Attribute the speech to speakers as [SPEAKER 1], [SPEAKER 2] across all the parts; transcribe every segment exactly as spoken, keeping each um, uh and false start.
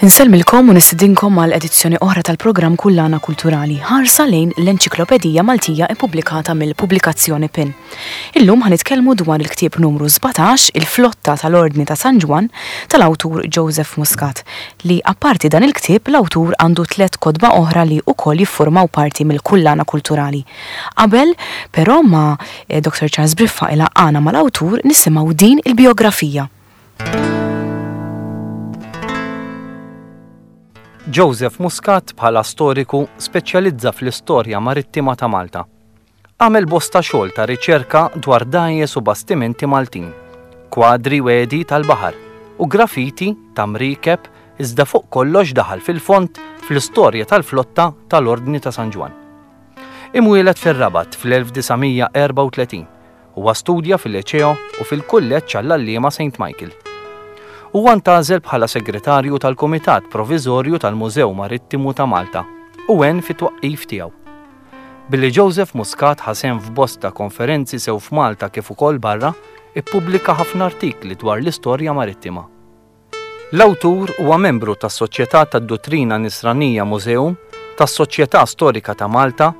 [SPEAKER 1] Insellmilkom u nistidinkom għal edizzjoni oħra tal-programm Kullana Kulturali, ħarsa lejn l-Enċiklopedija Maltija ippubblikata mill-Pubblikazzjoni PIN. Illum ħa nitkellmu dwar il-ktieb numru sbatax, Il-Flotta tal-Ordni ta' San Ġwann, tal-awtur Joseph Muscat, li apparti dan il-ktieb l-awtur għandu tliet kotba oħra li wkoll jiffurmaw parti mill-Kullana Kulturali. Qabel, però, ma eh, Doktor Charles Briffa ilaqqana mal-awtur nisimgħu din il-biografija.
[SPEAKER 2] Joseph Muscat bħala storiku speċjalizza fl-istorja marittima ta' Malta. Għamel bosta xogħol ta' riċerka dwar dgħajjes u bastimenti Maltin, kwadri wedi tal-baħar u grafiti ta' mriekeb, iżda fuq kollox daħal fil-fond fl-istorja tal-flotta tal-Ordni ta' San Ġwann. Imwieled fir-Rabat fl-elf disa' mija erbgħa u tletin, huwa studja fil-Liċeo u fil-Kulleġġ għall-Għalliema Saint Michael. Huwa ntgħażel bħala segretarju tal-Kumitat Proviżorju tal-Mużew Marittimu ta' Malta u għen fit-twaqqif tiegħu. Billi Joseph Muscat ħasem f'bosta konferenzi sew f'Malta kif ukoll barra, ippubblika ħafna artikli dwar l-istorja marittima. L-awtur huwa membru tas-Soċjetà tad-Duttrina Nisranija Museum, tas-Soċjetà Storika ta' Malta,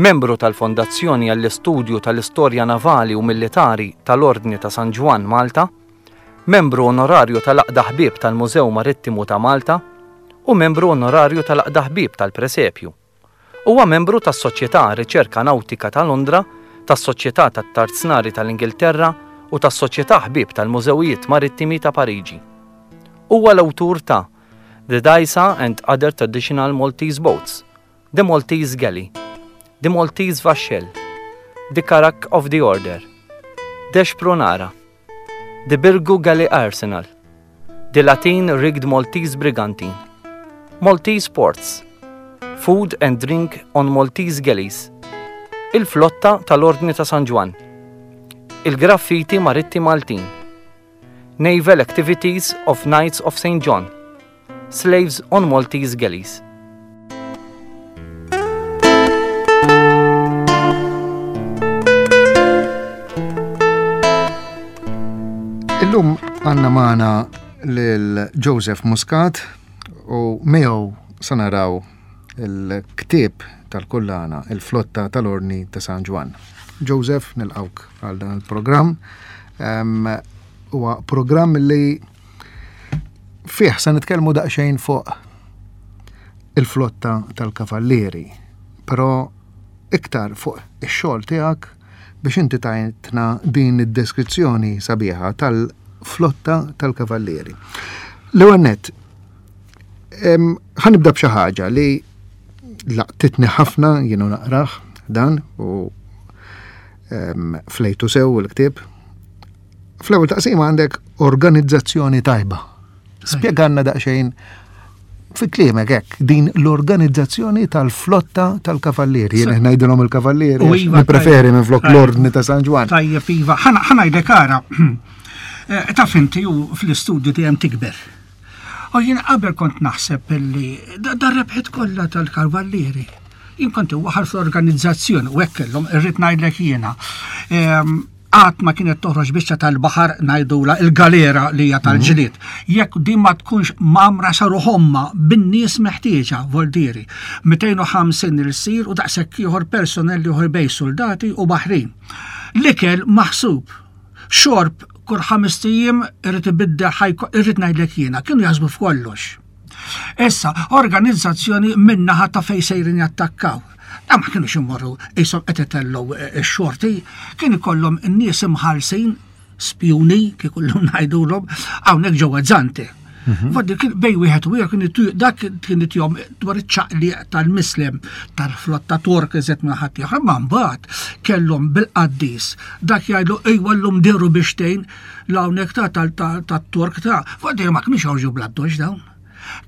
[SPEAKER 2] membru tal-Fondazzjoni għall-Istudju tal-Istorja Navali u Militari tal-Ordni ta' San Ġwann Malta, membru onorarju tal-Għaqda Ħbieb tal-Mużew Marittimu ta' Malta u membru onorarju tal-Għaqda Ħbieb tal-Presepju. Huwa membru tas-Soċjetà Riċerka Nautika ta' Londra, tas-Soċjetà tat-Tarznari tal-Ingilterra u tas-Soċjetà Ħbieb tal-Mużewijiet Marittimi ta' Pariġi. Huwa l-awtur ta' The Dgħajsa and Other Traditional Maltese Boats, The Maltese Galley, The Maltese Vaxxell, The Carrack of the Order, The Xprunara, The Birgu Galley Arsenal, The Latin Rigged Maltese Brigantine, Maltese Ports, Food and Drink on Maltese Galleys, Il-Flotta tal-Ordni ta' San Ġwann, Il-Graffiti Maritti Maltin, Naval Activities of Knights of Saint John, Slaves on Maltese Galleys.
[SPEAKER 3] Illum għanna magħna lil Joseph Muscat u miegħu se naraw il-ktieb tal-kullana, il-flotta tal-Ordni ta' San Ġwann. Joseph, nilqawk għal dan il-programm. Em, huwa programm li fih se nitkellmu daqsxejn fuq il-flotta tal-Kavallieri, però iktar fuq ix-xogħol tiegħek biex inti tajtna din id-deskrizzjoni sabiħa tal-flotta tal-Kavallieri. L-ewwel nett, em, ħa nibda b'xi ħaġa li laqtitni ħafna jienu naqrah dan u, em, flejtu sew il-ktieb. Fl-ewwel taqsima għandek organizzazzjoni tajba. Spjegalna daqsxejn fi kliemek hekk din l-organizzazzjoni tal-flotta tal-Kavallieri. Jien ngħidilhom il-Kavallieri,
[SPEAKER 4] U
[SPEAKER 3] għax
[SPEAKER 4] iva,
[SPEAKER 3] nippreferi
[SPEAKER 4] tajjeb.
[SPEAKER 3] minn flok
[SPEAKER 4] Tajjeb.
[SPEAKER 3] l-Ordni ta' San Ġwann.
[SPEAKER 4] Tajjeb, iva. Ħana, ħa ngħidlek ara. Eh, taf inti u fl-istudju dejjem tikber. U jien qabel kont naħseb illi da-, da rebħet kollha tal-Kavallieri. Jien kont waħal fl-organizzazzjoni u hekk kellhom irrid ngħidlek jiena. Ehm, qatt ma kienet toħroġ biċċa tal-baħar ngħidula il-galera li hija tal-ġlied. Jekk din ma tkunx mamra saru ħomma bin-nies meħtieġa, voldieri. mitejn u ħamsin il-sir u daqshekk ieħor personell ieħor bej soldati u baħrin. L-ikel maħsub, xorb kull ħames ijiem irid ibiddel ħajko, irrid ngħidlek jiena, kienu jaħsbu f'kollox. Issa, organizzazzjoni minnaħa ta' fej sejrin jattakkaw. Da ma kienux imorru qishom qed itellgħu, eh, x-xorti, kien ikollhom n-nies imħallsin, spjuni, kif kullhom ngħidulhom, hawnhekk ġewwa Zante.
[SPEAKER 3] Mhm.
[SPEAKER 4] Faddi kien bej wieħed u ieħor kien itu-, dak kien itihom dwar iċ-ċaqliq tal-mislem tal-flotta Tork iżed minn ħadd ieħor, ma mbagħad kellhom bil-qaddis dak jgħidlu ejwa llum deru biex tgħin l-hawnhekk ta' tal-, ta', tat-Tork ta' Faddi ma kienux joħorġu bl-addoċ dawn.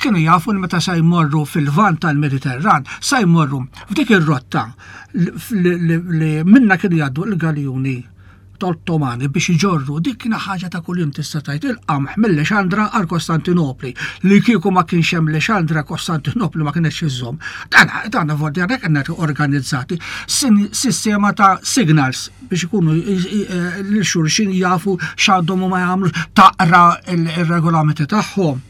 [SPEAKER 4] Kienu jafu li meta se jmorru fil-vant tal-Mediterran, se jmorru f'dik ir-rotta li, li, li minna kienu jgħaddu l-galjuni Tal-Ottomani biex iġorru dik kien ħaġa ta' kuljum tista' tgħid il-qamħ mill-Lexandra għal Kostantinopli. Li kieku ma kienx hemm Lexandra, Kostantinopli ma kienx iżżomm. Dan dan volti għandek qed organizzati sistema ta' signals biex ikunu lil xulxin jafu x'għandhom u ma jagħmlux, taqra il-regolamenti tagħhom.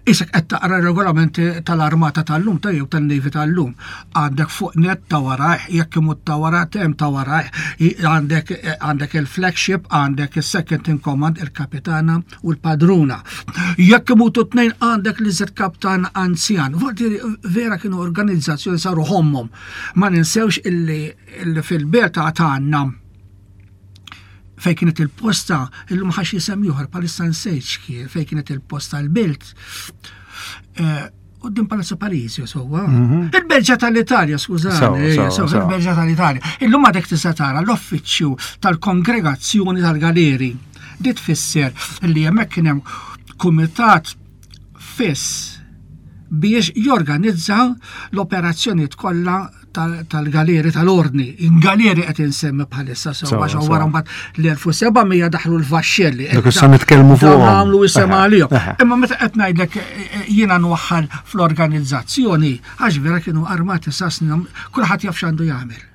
[SPEAKER 4] Isek qed taqra regolamenti tal-armata tal-lum ta' jew tan-Navy tal-lum. Għandek fuq net ta' warajh, jekk imut ta' wara hemm ta' warajh, għandek għandek il-flagship, għandek il-second in command, il-kapitana u l-padruna. Jekk imutu tnejn għandek li zed kaptan anzjan. Vuol vera kienu organizzazzjoni saru ħommhom. Ma ninsewx illi, illi fil-belt tagħna fej kienet il-posta, illum ħax jisem ieħor palissa nsejt kien, fej kienet il-posta l-belt. Quddiem Palazzo Parisio, sewwa. Il-Berġa tal-Italja, skużani, il-Berġa tal-Italja. Illum għadek tista' tara l-uffiċċju tal-kongregazzjoni tal-galeri. Di tfisser li hemmhekk kien hemm kumitat fiss biex jorganizza l-operazzjonijiet kollha tal-galeri tal-ordni. In-galeri qed insemmi bħalissa sewwa għax wara mbagħad l-elf u seba' mija daħlu l-vaxxelli.
[SPEAKER 3] Dak issa nitkellmu fuqhom.
[SPEAKER 4] Għamlu isem għalihom. Imma meta qed ngħidlek jiena nwaħħal fl-organizzazzjoni, għax vera kienu armati sasni, kulħadd jaf x'għandu jagħmel.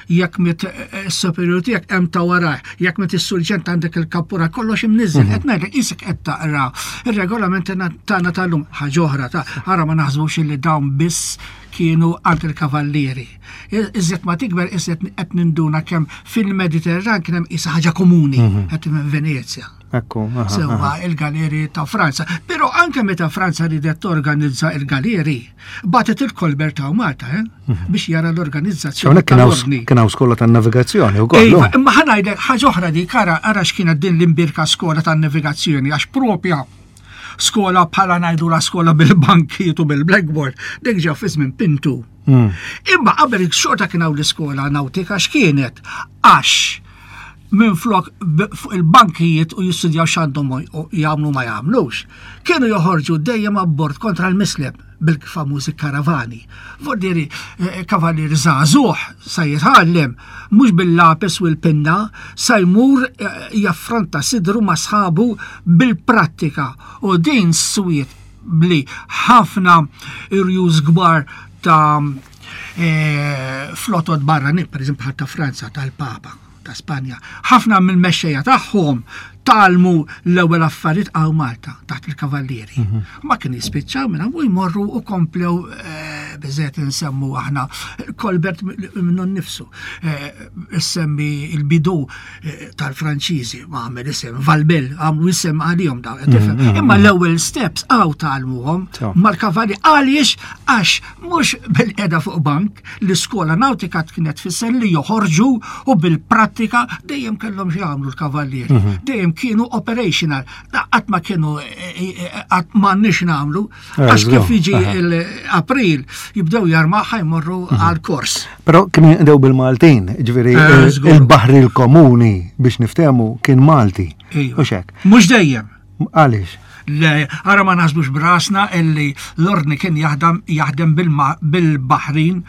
[SPEAKER 4] Jekk mit is-superior tiegħek hemm ta' warajh, jekk mit is-surġent għandek il-kappura, kollox imniżżel. Qed ngħidlek isek qed taqra ir-regolamenti tagħna tal-lum ħaġa oħra ta' ara ma naħsbux illi dawn biss kienu għand il-kavallieri. Iżjed ma tikber, iżjed qed ninduna kemm fil-Mediterran kien hemm isa ħaġa komuni, qed Venezja.
[SPEAKER 3] Ekku, aha,
[SPEAKER 4] Sewwa il-galeri ta' Franza. Però anke meta Franza ridet torganizza il-galeri, batet il-Colbert ta' Malta, eh? Biex jara l-organizzazzjoni
[SPEAKER 3] Hawnhekk kien hawn
[SPEAKER 4] tal-ordni.
[SPEAKER 3] kien hawn skola tan-navigazzjoni wkoll.
[SPEAKER 4] Iva, imma ħa ngħidlek ħaġa oħra dik, ara ara x'kienet din l-imbirka skola tan-navigazzjoni, għax propja skola bħala ngħidu la skola bil-bankiet u bil-blackboard, dik ġew fi żmien Pintu. Imma qabel xorta kien hawn l-iskola nautika x'kienet? Għax minn flok fuq il-bankijiet u jistudjaw x'għandhom jagħmlu ma jagħmlux, kienu joħorġu dejjem abbord kontra l-mislem bil-famużi karavani. Vuol kavallier żagħżugħ sa jitgħallem mhux bil-lapis u l-pinna, sa jmur jaffronta sidru ma' sħabu bil-prattika. U din swiet bli ħafna irjus kbar ta' flotot barranin, per eżempju bħal ta' Franza, tal-Papa, ta' Spanja. Ħafna mill-mexxejja tagħhom tgħallmu l-ewwel affarijiet għaw Malta taħt il-kavallieri. Ma kien jispiċċaw minn u jmorru u komplew biżgħet insemmu aħna Colbert minnu nnifsu. Issemmi il-bidu tal-Franċiżi, ma għamel isem Valbel, għamlu isem għalihom dawn, tifhem. Imma l-ewwel steps għaw tgħallmuhom mal-kavalli għaliex għax mhux bil-qeda fuq bank, l-iskola nautika kienet tfisser li joħorġu u bil-prattika dejjem kellhom xi jagħmlu l-kavallieri. Dejjem kienu operational. Qatt ma kienu qatt m'għandniex nagħmlu għax kif jiġi l-April jibdew jarmaħ jmorru għal-kors.
[SPEAKER 3] Però kienu jinqdew bil-Maltin, ġifieri il-baħri l-komuni biex niftehmu kien Malti. U xek.
[SPEAKER 4] Mhux dejjem.
[SPEAKER 3] Għaliex?
[SPEAKER 4] Le, ara ma naħsbux brasna illi l-ordni kien jaħdem jaħdem bil-Baħrin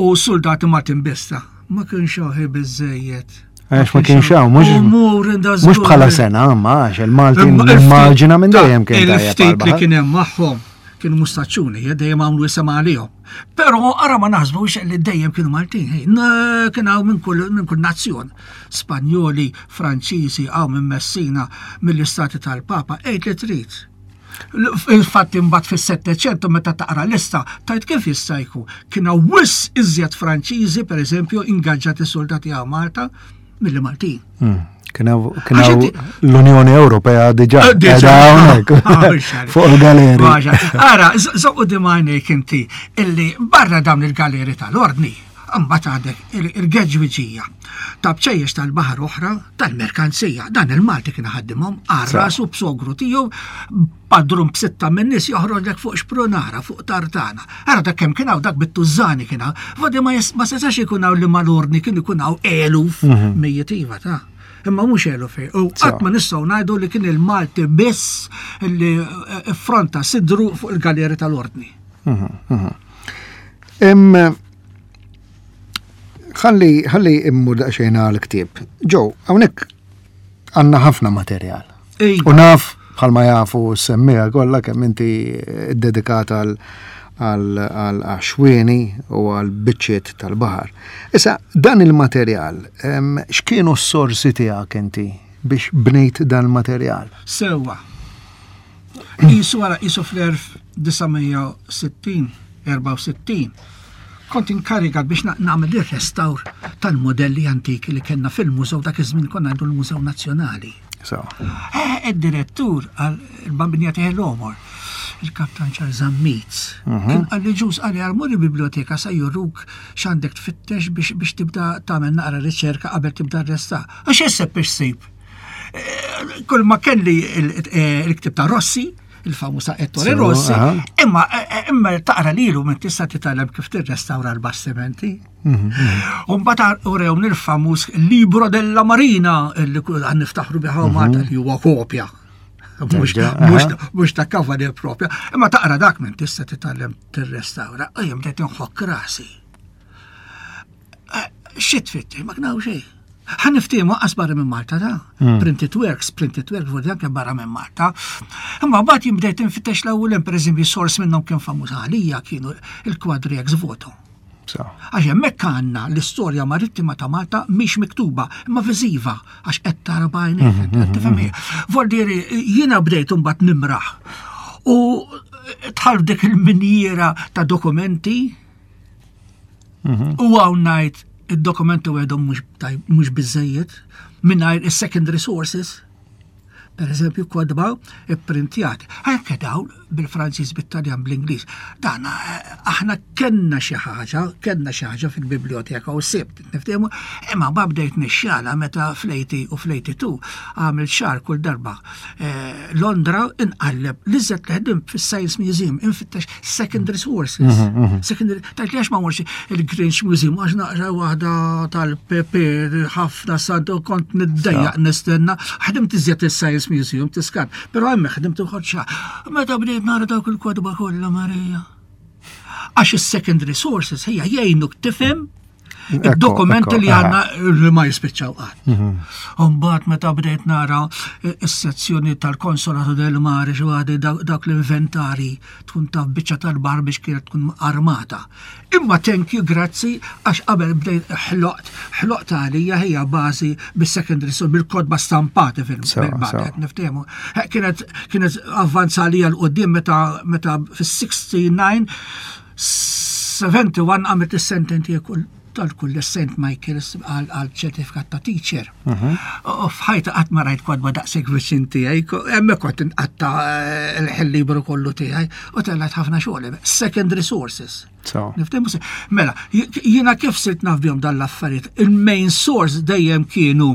[SPEAKER 4] u soldati Maltin bista. Ma kienx hawn biżejjed.
[SPEAKER 3] Għax ma kienx hawn, mhux mhux bħala sena, ma għax il-Maltin immaġina minn dejjem kien
[SPEAKER 4] tajjeb. Il-ftit li kien hemm magħhom kienu mustaċċuni, dejjem għamlu isem għalihom. Però ara ma naħsbux li dejjem kienu Maltin, kien hawn minn kull minn kull nazzjon. Spanjoli, Franċiżi, hawn minn Messina, mill-Istati tal-Papa, għid li trid. Il-fatt imbagħad fis-Settecento meta taqra lista, tajt kif jista' jkun. Kien hawn wisq iżjed Franċiżi, pereżempju, ingaġġati soldati għaw Malta milli Maltin.
[SPEAKER 3] Kien hawn l-Unjoni Ewropea diġà qiegħda hawnhekk fuq il-galeri.
[SPEAKER 4] Ara, żoqqu dimajnejk inti illi barra dawn il-galeri tal-ordni, mbagħad għandek il-geġwiġija ta' bċejjex tal-baħar oħra tal-merkanzija. Dan il-Malti kien ħaddimhom għal rasu b'sogru tiegħu padrun b'sitta minn nies joħroġlek fuq xprunara, fuq tartana. Ara dak kemm kien hawn dak bit-tużżani kien hawn. Vodi ma setax ikun hawn li mal-ordni kien ikun hawn eluf mijiet iva ta' imma mhux eluf. U qatt ma nistgħu ngħidu li kien il-Malti biss li affronta sidru fuq il-galeri tal-ordni.
[SPEAKER 3] Ħalli ħalli immur daqsxejn għal-ktieb. Ġo, hawnhekk għandna ħafna materjal. U naf bħalma jafu s-semmiegħa kollha kemm inti dedikata għal għal għaxwieni u għal biċċiet tal-baħar. Issa, dan il-materjal, x'kienu s-sorsi tiegħek inti biex bnejt dan il-materjal?
[SPEAKER 4] Sewwa. Qisu wara qisu fl-elf disa' mija sittin, erbgħa u sittin, kont inkarigat biex nagħmel ir-restawr tal-modelli antiki li kellna fil-mużew dak iż-żmien konna għandu l-Mużew Nazzjonali.
[SPEAKER 3] So.
[SPEAKER 4] Eh, id-direttur għal il-bambinja tiegħi l-omor, il-kaptan Charles Zammit,
[SPEAKER 3] Mhm.
[SPEAKER 4] kien qalli ġuż qalli għal mur il-biblioteka sa juruk x'għandek tfittex biex, biex tibda tagħmel naqra riċerka qabel tibda rresta. Għax isseb biex sib. Eh, kull ma kelli il-, eh, il-ktib ta' Rossi, il-famusa Ettore
[SPEAKER 3] So,
[SPEAKER 4] Rossi,
[SPEAKER 3] aha.
[SPEAKER 4] imma, eh, eh, imma taqra lilu minn tista' titgħallem kif tirrestawra l-bastimenti.
[SPEAKER 3] Mhm, mhm.
[SPEAKER 4] U mbagħad urewni il-famuż Libro della Marina li kull għan niftaħru biha
[SPEAKER 3] Mhm.
[SPEAKER 4] Malta li huwa kopja. Mhux,
[SPEAKER 3] Terġa',
[SPEAKER 4] mhux,
[SPEAKER 3] aha.
[SPEAKER 4] mhux ta' kavalier propja. Imma taqra dak minn tista' titgħallem tirrestawra. U jien bdejt inħokk rasi. Eh, xi tfittex, ma knaw xejn. Ħa niftiehmu qas barra minn Malta da.
[SPEAKER 3] Hmm.
[SPEAKER 4] Printed works, printed works, vuol dire anke barra minn Malta. Imma mbagħad jien bdejt infittex l-ewwel hemm, pereżempju, sors minnhom kien famuż għalija kienu il-kwadri ex voto.
[SPEAKER 3] So.
[SPEAKER 4] Għax hemmhekk għandna l-istorja marittima ta' Malta mhix miktuba, imma viżiva, għax qed tara b'għajnejk,
[SPEAKER 3] Mhm,
[SPEAKER 4] qed
[SPEAKER 3] mhm,
[SPEAKER 4] tifhem
[SPEAKER 3] mhm.
[SPEAKER 4] hija. Vuol dire jiena bdejt imbagħad nimraħ. U tħall dik il-minjiera ta' dokumenti
[SPEAKER 3] Mhm.
[SPEAKER 4] u hawn ngħid id-dokumenti għedhom mhux tajb, mhux biżejjed mingħajr is-secondary sources. Per eżempju, kodba ipprintjati. Anke dawn bil-Franċiż, bit-Taljan, bl-Ingliż. Dan, eh, aħna kellna xi ħaġa, kellna xi ħaġa fil-biblioteka u sibt, niftehmu, imma ma bdejt nixxala meta fl-eighty u fl-eighty-two għamil xahar kull darba. Eh, Londra inqalleb li żed li ħdim fis-Science Museum, infittex secondary sources.
[SPEAKER 3] Mhm, mhm.
[SPEAKER 4] Secondary, tajt li għax ma morx il-Grange Museum, għax naqra waħda tal-P P, ħafna sad u kont niddejjaq nistenna. Ħdimt iżjed il-Science Museum, tiskat, pero hemm ħdimt ukoll xa. Meta bdejt nara dawk il-kotba kollha Marija. Għax is-secondary sources hija jgħinuk tifhem
[SPEAKER 3] Ekko,
[SPEAKER 4] id-dokumenti
[SPEAKER 3] ekko,
[SPEAKER 4] li
[SPEAKER 3] aha.
[SPEAKER 4] għandna li ma jispiċċaw qatt.
[SPEAKER 3] Mhm.
[SPEAKER 4] Umbagħad meta bdejt nara is-sezzjoni tal-Konsolatu del Mare xi waħda dak l-inventari tkun taf biċċa tal-bar biex kienet tkun armata. Imma thank you, grazzi, għax qabel bdejt ħloqt, ħloqt għalija hija bażi bis-secondary source, bil-kotba stampati
[SPEAKER 3] Sewa,
[SPEAKER 4] fil-bażi,
[SPEAKER 3] sewa.
[SPEAKER 4] qed niftehmu. Eh, Kienet kienet avvanza għalija 'l quddiem meta meta fis-sixty-nine seventy-one għamilt is-sententi kull tal-kull Saint Michael's għal għal ċertifikat ta' teacher.
[SPEAKER 3] Mhm.
[SPEAKER 4] U f'ħajti qatt ma rajt kotba daqshekk viċin tiegħi, ko-, hemmhekk kont inqatta' eh, il-ħin libru kollu tiegħi u tellgħet ħafna xogħol. Secondary sources.
[SPEAKER 3] So.
[SPEAKER 4] Niftehmu se- Mela, j-, jiena kif sirt naf bihom dan l-affarijiet, il-main source dejjem kienu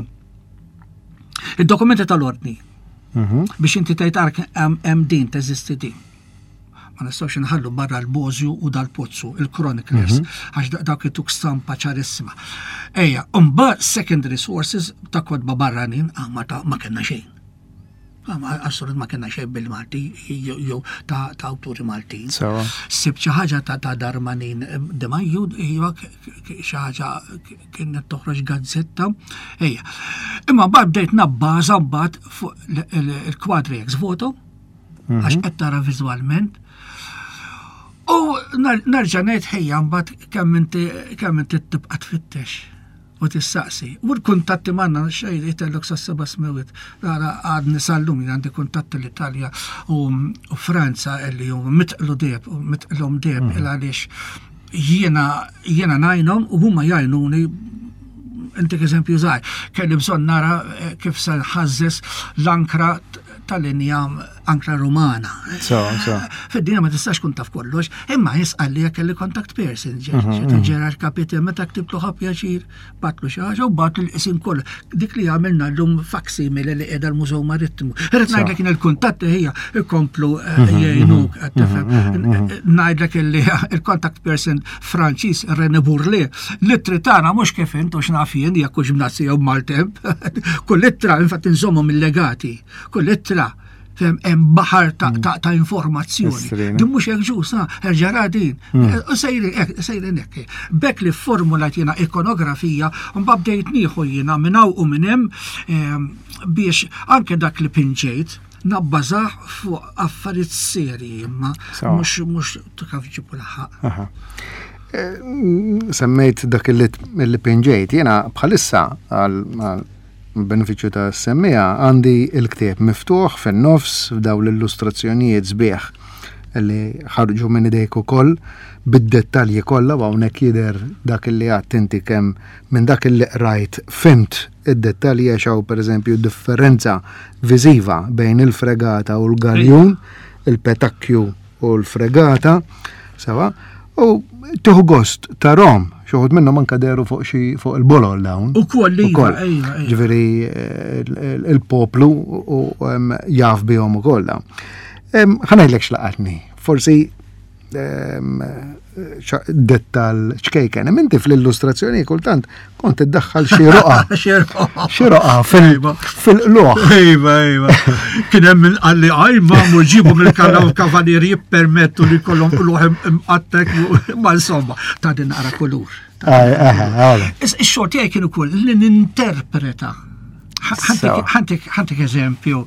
[SPEAKER 4] id-dokumenti tal-ordni.
[SPEAKER 3] Mhm.
[SPEAKER 4] Biex inti tgħid ark hemm hemm din teżisti din. Ma nistgħux inħallu barra l-Bosio u dal-Pozzu, il-chroniclers,
[SPEAKER 3] Mhm.
[SPEAKER 4] għax da-, dak ituk stampa ċarissima. Ejja, mbagħad secondary sources ta' kotba barranin, ah, ma ta' ma kellna xejn. Ah, ma assolut ma kellna xejn bil-Malti jew jew ta' ta' awturi Maltin.
[SPEAKER 3] Sewa.
[SPEAKER 4] Sibt xi ħaġa ta' ta' Darmanin eh, De Majo, iva, k-, k-, xi ħaġa k-, kienet toħroġ gazzetta. Ejja. Imma mbagħad bdejt nabbaża mbagħad fuq l-, il-, il-kwadri ex voto,
[SPEAKER 3] Mhm.
[SPEAKER 4] għax qed tara viżwalment. U nar-, nerġa' ngħid ħejja mbagħad kemm inti kemm inti tibqa' tfittex u tissaqsi. U l-kuntatti m'għandna xejn jitellok sa seba' smewit. Ara għadni sal-lum jien għandi kuntatti l-Italja u, u Franza illi huma mitqlu deb u mitqlhom deb
[SPEAKER 3] Mhm.
[SPEAKER 4] il għaliex jiena jiena ngħinhom u huma jgħinuni. Intik eżempju żgħir, kelli bżonn nara, eh, kif se nħażżes l-ankra t-, tal-injam, ankra rumana.
[SPEAKER 3] So, so.
[SPEAKER 4] Fid-dinja ma tistax kun taf kollox, imma jisqal li kelli contact person, ġe-
[SPEAKER 3] Mhm,
[SPEAKER 4] ġe-
[SPEAKER 3] mhm.
[SPEAKER 4] Gerard Capite, meta ktiblu ħa pjaċir, batlu xi ħaġa u batlu l-isim kollu. Dik li għamilna llum facsimile li qiegħda l-Mużew Marittimu. Irrid
[SPEAKER 3] So.
[SPEAKER 4] ngħidlek in il-kuntatti hija ikomplu, eh,
[SPEAKER 3] Mhm,
[SPEAKER 4] jgħinuk,
[SPEAKER 3] mhm,
[SPEAKER 4] qed tifhem.
[SPEAKER 3] mhm, mhm.
[SPEAKER 4] Ngħidlek illi il-contact person Franċiż René Bourlet, l-ittri tagħna mhux kif int u x'naf jien jekk hux b'nazzi jew b'maltemp. Kull ittra, infatti nżommhom il-legati, kull ittra Hemm baħar ta', ta, ta informazzjoni. Din mhux hekk ġusa, erġara din. U sejrin sejrin hekk. B'hekk li formulat jiena ikonografija, u mbagħad bdejt nieħu jiena minn hawn u minn hemm biex anke dak li pinġejt nabbażah fuq affarijiet serji imma mhux mhux kif ġibu laħaq.
[SPEAKER 3] Semmejt dak li pinġejt, jiena bħalissa għal benefiċċju ta' semmija għandi il-ktieb miftuħ fin-nofs f'daw l-illustrazzjonijiet sbieħ li ħarġu minn idejk ukoll bid-dettalji kollha u hawnhekk jidher dak li għedt inti kemm minn dak li qrajt fhimt id-dettalji għax hawn pereżempju differenza viżiva bejn il-fregata u l-galjun, il-petakkju u l-fregata, sewa, u tieħu gost tarahom, xi wħud minnhom anke dehru fuq xi fuq il-bolol dawn.
[SPEAKER 4] Ukoll iva, iva,
[SPEAKER 3] Ġifieri il-poplu u jaf bihom ukoll dawn. Ħa ngħidlek x'laqatni, forsi dettal ċkejken. Inti fl-illustrazzjoni kultant kont iddaħħal xi roqa. Xi roqa fil-qluħ.
[SPEAKER 4] Iva, iva. Kien hemm min qalli aj ma mur ġibu mill-kavalieri jippermettu li kollhom qluħ imqattek ma insomma ta' din naqra kulur. Ix-xogħol tiegħi kien ukoll li ninterpreta. Ħantik eżempju.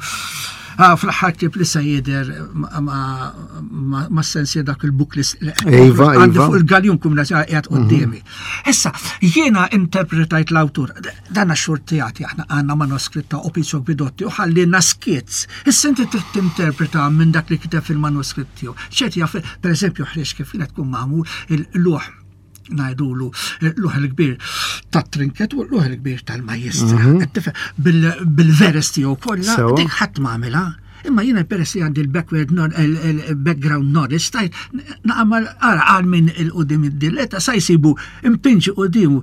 [SPEAKER 4] Fl-aħħar ktieb li se jidher ma' sensi dak il-book li
[SPEAKER 3] Iva,
[SPEAKER 4] għandi fuq il-galjun kum qiegħed quddiemi. Issa, jiena interpretajt l-awtur, dan xogħol tiegħi aħna għandna manuskritt ta' Opizio Guidotti u ħallina skizz. Issa inti trid tinterpreta minn dak li kiteb fil-manuskritt tiegħu. ċerti jaf, pereżempju, ħreġ kif kienet tkun magħmul il-luħ ngħidulu l-luħ il-kbir tat-trinket u l-luħ il-kbir tal-majjistra. Bil-veres tiegħu kollha, dik ħadd ma għamilha. Imma jiena peress li għandi l-backward il-background knowledge, stajt naqamal ara għal minn il-qudiem id-dilletta sa jsibu impinġi qudiem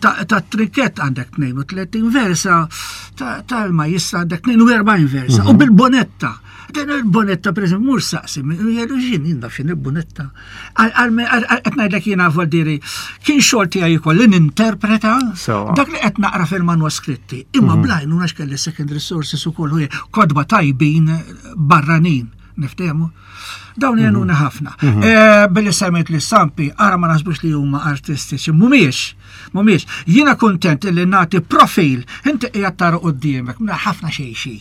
[SPEAKER 4] tat-trinket għandek tnejn u tletin versa, tal-majjistra għandek tnejn u erbgħin versa, u bil-bonetta. Din il-bonetta, per eżempju, mur saqsi, jgħidu xin, jinda xin il-bonetta. Qed ngħidlek jiena voldiri, kien xogħol tiegħi jkolli ninterpreta dak li qed naqra fil-manuskritti. Imma blajnu għax kelli secondary sources ukoll kotba tajbin barranin, niftehmu. Dawn jgħinuna ħafna. Billi semmejt li stampi, ara ma naħsbux li huma artistiċi, mhumiex, mhumiex. Jiena kuntent li nagħti profil, inti qiegħed tara quddiemek, minn ħafna xejn xi.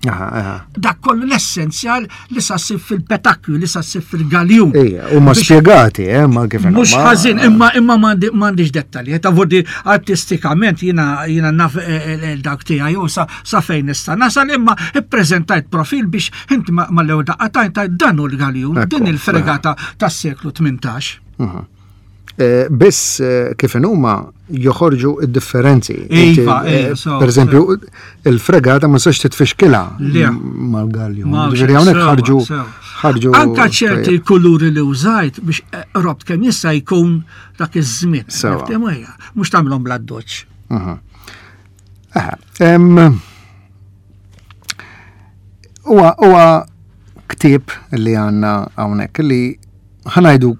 [SPEAKER 4] Dak kollu l-essenzjal li sa ssib fil-petakkju, li sa ssib fil-galjun.
[SPEAKER 3] Ija, u ma spiegati, eh, ma kif
[SPEAKER 4] Mhux ħażin, imma imma m'għandix dettalji. Ta' vordi artistikament jiena jiena naf dak tiegħi u sa sa fejn nista' nasal, imma ippreżentajt profil biex inti mal-ewwel daqqa tajt dan hu l-galjun, din il-fregata tas-seklu tmintax.
[SPEAKER 3] Biss kif huma joħorġu id-differenzi.
[SPEAKER 4] Iva, iva,
[SPEAKER 3] Per eżempju, il-fregata ma sax titfixkilha mal-galjun. Ġifieri hawnhekk ħarġu ħarġu.
[SPEAKER 4] Anka ċerti kuluri li użajt biex robt kemm jista' jkun dak iż-żmien. Mhux tagħmilhom bla doċ.
[SPEAKER 3] Huwa huwa ktieb li għandna hawnhekk li ħa ngħidu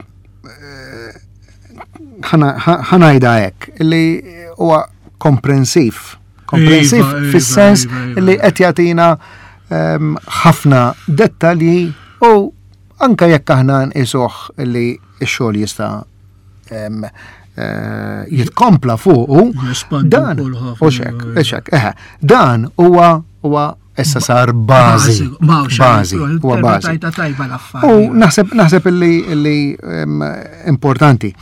[SPEAKER 3] ħa ngħidha hekk, li huwa komprensiv. Komprensiv fis-sens li qed jagħtina ħafna dettalji u anka jekk aħna nqisuh li x-xogħol jista' jitkompla fuqu, dan u xek, xek, eħe, dan huwa huwa issa sar bażi. Bażi, huwa bażi. U naħseb naħseb illi importanti.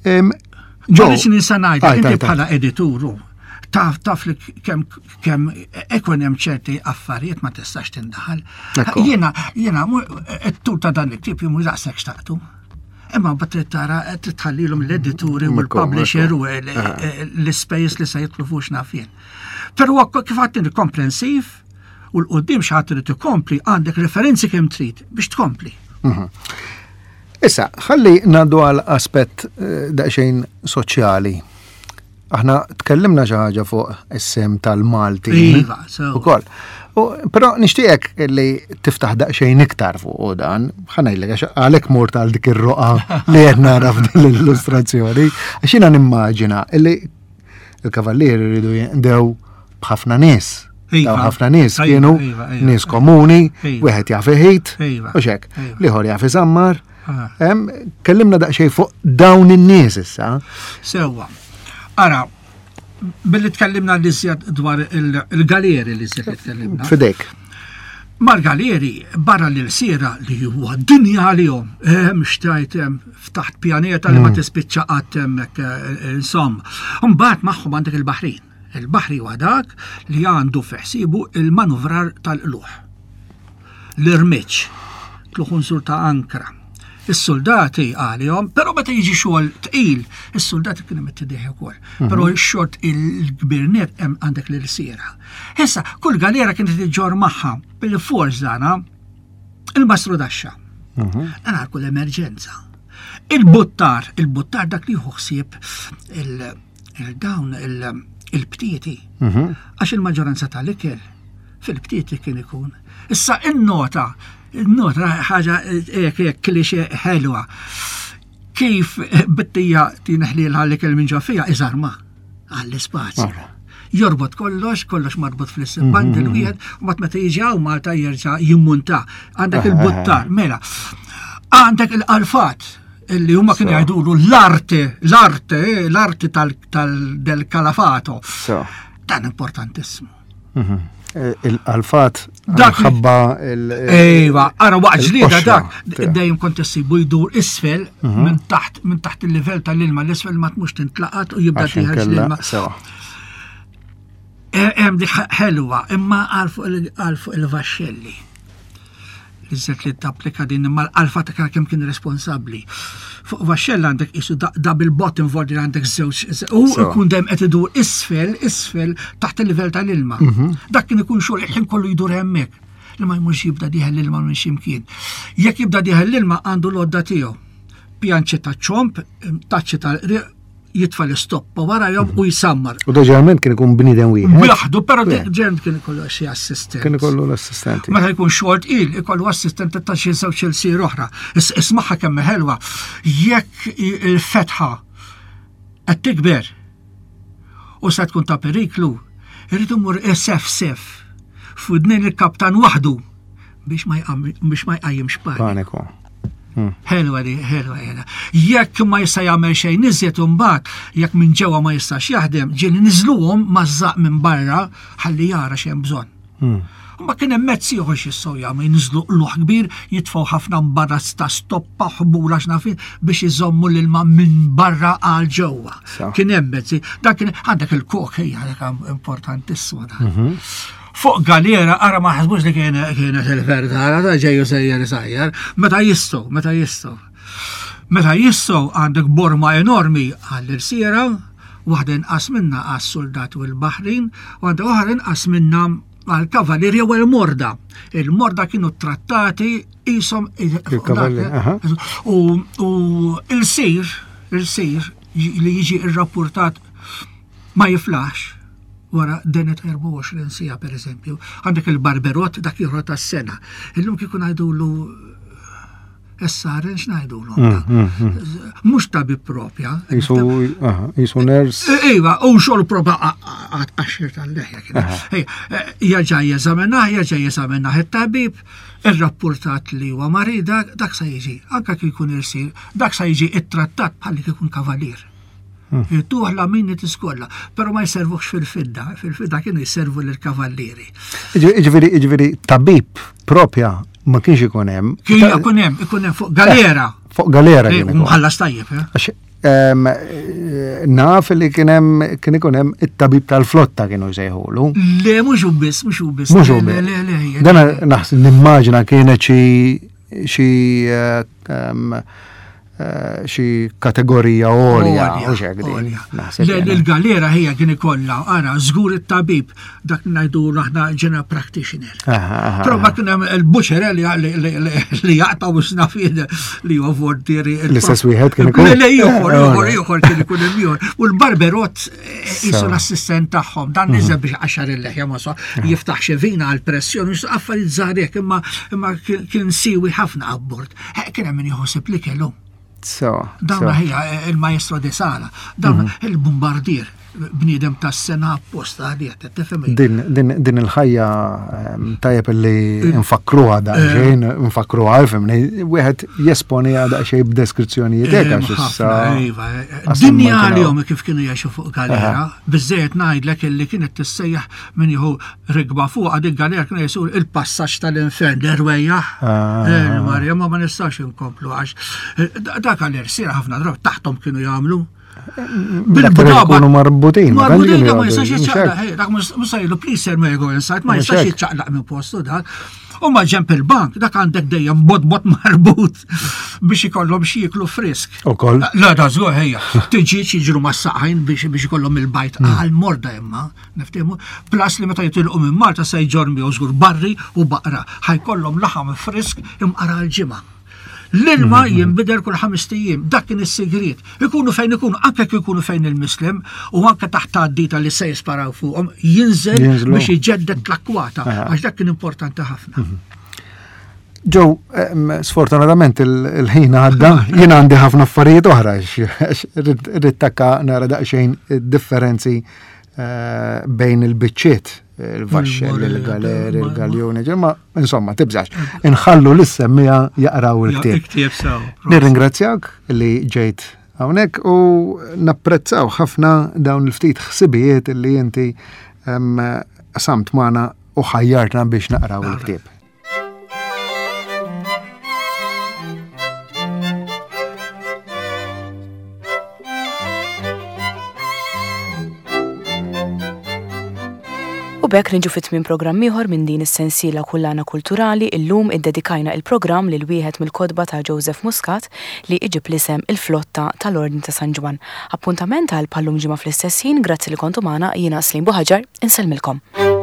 [SPEAKER 4] Ġo, nisa ngħidlek, inti bħala edituru, taf taf li kemm kemm ikun hemm ċerti affarijiet ma tistax tindaħal. Jiena jiena t-tul ta' dan il-ktieb jien mhux daqshekk xtaqtu. Imma mbagħad trid tara trid tħallilhom l-edituri u l-publisher u l-ispejjeż li se jidħlu fuq x'naf jien. Però kif għadt komprensiv u l-qudiem xi ħadd irid ikompli għandek referenzi kemm trid biex tkompli.
[SPEAKER 3] Issa, ħalli ngħaddu għal aspett daqsxejn soċjali. Aħna tkellimna xi ħaġa fuq is-sem tal-Malti.
[SPEAKER 4] Iva, so.
[SPEAKER 3] Ukoll. Però nixtieqek li tiftaħ daqsxejn iktar fuq dan, ħa ngħidlek għax għalhekk mort għal dik ir-roqa li qed nara f'din l-illustrazzjoni, għax jiena nimmaġina li il-kavallieri jridu jinqdew b'ħafna nies.
[SPEAKER 4] Iva.
[SPEAKER 3] Dawn ħafna nies
[SPEAKER 4] Iva,
[SPEAKER 3] kienu
[SPEAKER 4] iva, iva.
[SPEAKER 3] nies komuni,
[SPEAKER 4] Iva.
[SPEAKER 3] wieħed jaf iħit,
[SPEAKER 4] Iva.
[SPEAKER 3] u xek,
[SPEAKER 4] Iva.
[SPEAKER 3] l-ieħor jaf iżammar.
[SPEAKER 4] Ah.
[SPEAKER 3] Em, Kellimna daqsxejn fuq dawn in-nies issa.
[SPEAKER 4] Sewwa. Ara, billi tkellimna li żjed dwar il- il-galeri li żjed li tkellimna.
[SPEAKER 3] Fidejk.
[SPEAKER 4] Mal-galeri, barra l-sira li huwa dinja għalihom, hemm xtajt hemm ftaħt pjaneta li ma tispiċċa qatt hemmhekk eh, insomma. Mbagħad magħhom għandek il-Baħrin. Il-Baħri huwa dak li għandu fi ħsiebu il-manuvrar tal-qluħ. L-irmiċ, tluħ unsur ta' ankra. Is-soldati għalihom, però meta jiġi xogħol tqil, is-soldati kienu mittidih ukoll. Però x-xogħol tqil il-kbir net hemm għandek l-irsiera. Issa, kull galera kienet iġġor magħha bil-fors dana il-mastru daxxa. Dan għal kull emerġenza. Il-buttar, il-buttar dak li jieħu ħsieb il- il-dawn il- il-btieti. Għax il-maġġoranza tal-ikel fil-btieti kien ikun. Issa in-nota, in-nota ħaġa hekk hekk klixe ħelwa. Kif bittija tinħlilha l-ikel minn ġo fija iżarma għall-ispazju. Jorbot kollox, kollox marbut fl-istess bundle wieħed, u mat meta jiġi hawn Malta jerġa' jimmunta. Għandek il-buttar, mela. Għandek il-qalfat illi huma kienu jgħidulu l-arte, l-arte, eh, l-arte tal-del-kalafato.
[SPEAKER 3] So.
[SPEAKER 4] Dan importantissimu.
[SPEAKER 3] Eh, Il-alfat
[SPEAKER 4] Dak li-
[SPEAKER 3] ħabba il-
[SPEAKER 4] Ejwa, ara waqt ġlieda
[SPEAKER 3] il-qoxra
[SPEAKER 4] dak,
[SPEAKER 3] tiegħu.
[SPEAKER 4] dejjem kont issibu jdur isfel minn taħt minn taħt il-livell tal-ilma l-isfel ma tmux tintlaqat u jibda
[SPEAKER 3] Għax
[SPEAKER 4] tieħel
[SPEAKER 3] inkella-
[SPEAKER 4] l-ilma.
[SPEAKER 3] Sewa.
[SPEAKER 4] E- Hemm dik ħelwa, imma għal fuq il- għal fuq il-vaxxelli. Iżet li tapplika din imma l-alfa ta' kemm kien responsabbli. Fuq vaxxella għandek isu da- double bottom voldi għandek żewġ u
[SPEAKER 3] Sewa.
[SPEAKER 4] jkun dejjem qed idur isfel, isfel taħt il-livell tal-ilma. Dak kien ikun xogħol il-ħin kollu jdur hemmhekk. Li ma jmurx jibda dieħel l-ilma minn x'imkien. Jekk jibda dieħel l-ilma għandu l-odda tiegħu. Pjanċi ta' ċomp, taċċi ta' jitfa l-istoppa wara jom u jisammar.
[SPEAKER 3] U da ġeneralment kien ikun bniedem wieħed.
[SPEAKER 4] Bjaħdu, pero
[SPEAKER 3] Wieħed.
[SPEAKER 4] ġen kien ikollu xi assistent.
[SPEAKER 3] Kien ikollu l-assistenti.
[SPEAKER 4] Meta jkun xort il, ikollu assistent ta' xi żewġ il-sir oħra. Is- Ismaħħa kemm ħelwa. Jekk i- il-fetħa qed tikber u se tkun ta' periklu, irid imur sef sef f'widnejn il-kaptan waħdu biex ma jqam- biex ma jqajjimx paniku.
[SPEAKER 3] Paniku.
[SPEAKER 4] Ħelwa di, ħelwa ħelwa. Jekk ma jista' jagħmel xejn iżjed imbagħad, jekk minn ġewwa ma jistax jaħdem, ġieli niżluhom mażżaq minn barra ħalli jara x'hemm bżonn. Ma kien hemm mezz ieħor x'jistgħu jagħmlu jinżlu qluħ kbir, jitfgħu ħafna mbarrazz ta' stoppa ħbula x'nafin biex iżommu l-ilma minn barra għal ġewwa.
[SPEAKER 3] Sa.
[SPEAKER 4] Kien hemm mezzi, dak kien għandek il-kok hija dak importantissimu dan. Fuq galera, ara ma ħasbux li kien kienet il-verdara, ta' ġejju sejjer sajjer, meta jistgħu, meta jistgħu. Meta jistgħu għandek borma enormi għall-irsiera, waħda inqas minna għas-soldati u l-Baħrin, u għandek oħra inqas minna għal-kavalirja u l-morda. Il-morda kienu trattati jisom
[SPEAKER 3] Il-kavalli, aha.
[SPEAKER 4] U u il-sir, il-sir li jiġi irrapportat ma jiflax wara denet erbgħa u għoxrin sija per eżempju. Għandek il-barberot dak ieħor tas-sena. Illum kieku ngħidulu essaren x'ngħidulu. Mhux tabib propja.
[SPEAKER 3] Jisu, aha, jisu ners.
[SPEAKER 4] Iva, u xogħol proba għaxxir tal-leħja kien. Ej, Jerġa' jeżaminah, jerġa' jeżaminah it-tabib, irrapportat li huwa marida, dak sa jiġi, anke kif jkun irsir, dak sa jiġi ittrattat bħal li jkun kavalier. Tuħ la minni tiskolla, pero ma jservuhx fil-fidda, fil-fidda kienu jservu lill-kavallieri.
[SPEAKER 3] Ġifieri, ġifieri, tabib propja ma kienx ikun hemm.
[SPEAKER 4] Kien ikun hemm, ikun hemm fuq galera.
[SPEAKER 3] Fuq galera
[SPEAKER 4] Eh,
[SPEAKER 3] kien ikun.
[SPEAKER 4] Mħallas tajjeb, eh?
[SPEAKER 3] Għax em, eh, naf li kien hemm kien ikun hemm it-tabib tal-flotta kienu jsejħulu.
[SPEAKER 4] Le, mhux hu biss, mhux hu biss.
[SPEAKER 3] Mhux hu
[SPEAKER 4] Le,
[SPEAKER 3] biss.
[SPEAKER 4] Le, le, le,
[SPEAKER 3] Dan naħseb nimmaġina kienet xi xi eh, em, eh, xi kategorija għolja u xek din.
[SPEAKER 4] għolja.
[SPEAKER 3] Naħseb
[SPEAKER 4] Le,
[SPEAKER 3] jiena.
[SPEAKER 4] Il-galera hija kien ikollha, ara, żgur it-tabib, dak ngħidu aħna general practitioner.
[SPEAKER 3] Aha, aha,
[SPEAKER 4] Però ma kien hemm il-buċer li li- li- li jaqtaw snafien li huwa voltieri.
[SPEAKER 3] L-istess wieħed kien ikun?
[SPEAKER 4] Le, le, ieħor,
[SPEAKER 3] Eh,
[SPEAKER 4] ieħor,
[SPEAKER 3] għolja.
[SPEAKER 4] ieħor kien ikun hemm ieħor. U l-barberot eh, qisu
[SPEAKER 3] Sewa.
[SPEAKER 4] l-assistent tagħhom, dan
[SPEAKER 3] Mhm.
[SPEAKER 4] niżel biex għaxar il-leħja ma so jiftaħ xi vina għal pressjoni, affarijiet żgħar hekk, imma imma kien kien siwi ħafna abbord. Eh, Kien hemm min jħossib li kellu.
[SPEAKER 3] Sewa,
[SPEAKER 4] Dawn
[SPEAKER 3] sewa.
[SPEAKER 4] hija eh, il-maestro de sala, dawn il-bombardier, Bniedem tas-sena apposta għalih, tifhem?
[SPEAKER 3] Din, din, din il-ħajja ehm, tajjeb li nfakruha daqsxejn, nfakruha, fimni, wieħed jesponi daqsxejn b'deskrizzjonijiet hekk għax issa.
[SPEAKER 4] Iva, dinja għalihom kif kienu jgħixu fuq galera, biżejjed ngħidlek illi kienet tissejjaħ min jieħu rigba fuq dik galera kienu jgħidu il-passaġġ tal-infern, l-erwejjaħ. Ah. Marja, ma ma nistax inkomplu għax eh, dak għal-irsira ħafna drabi taħtom kienu jagħmlu.
[SPEAKER 3] Bil-bdaba. Marbutin.
[SPEAKER 4] Marbutin, ma jistax jiċċaqlaq. Dak mhux jgħidu please sir may go inside, ma jistax jiċċaqlaq minn postu dak. U ma ġemp il-bank, dak għandek dejjem bot-bot marbut biex ikollhom xi jieklu frisk.
[SPEAKER 3] Ukoll.
[SPEAKER 4] La da żgur ħejja. Tiġi jiġru mas-saqajn biex biex ikollhom il-bajt mm. għal morda imma, niftehmu. Plus li meta jitilqu minn Malta se jġorr miegħu żgur barri u baqra. Ħajkollhom laħam frisk imqara l-ġimgħa. L-ilma mm-hmm. jinbidel kull ħames ijiem, dak kien is-sigriet. Ikunu fejn ikunu, anke jekk ikunu fejn il-Mislem u anke taħt għaddita li se jisparaw fuqhom, jinżel biex iġeddet l-akwata, għax dak kien importanti ħafna.
[SPEAKER 3] Mhm. Joe, sfortunatament il-ħin għadda, jien għandi ħafna affarijiet oħra, rrid takka nara daqsxejn differenzi eh, bejn il-biċċiet, il-vaxxell, il-galeri, il-galjoni, ma insomma, tibżax. Inħallu l-semmija jaqraw il-ktieb. Nirringrazzjak li ġejt hawnhekk u napprezzaw ħafna dawn il-ftit ħsibijiet li inti samt magħna u ħajjartna biex naqraw il-ktieb.
[SPEAKER 1] U b'hekk niġu fi tmiem programm ieħor minn din is-sensiela Kullana Kulturali. Illum iddedikajna il-programm lil wieħed mill-kotba ta' Joseph Muscat li iġib l-isem Il-Flotta tal-Ordni ta' San Ġwann. Appuntament għal bħal-lum ġimgħa fl-istess ħin, grazzi li kontu magħna, jiena Slim Buħaġar, insellmilkom.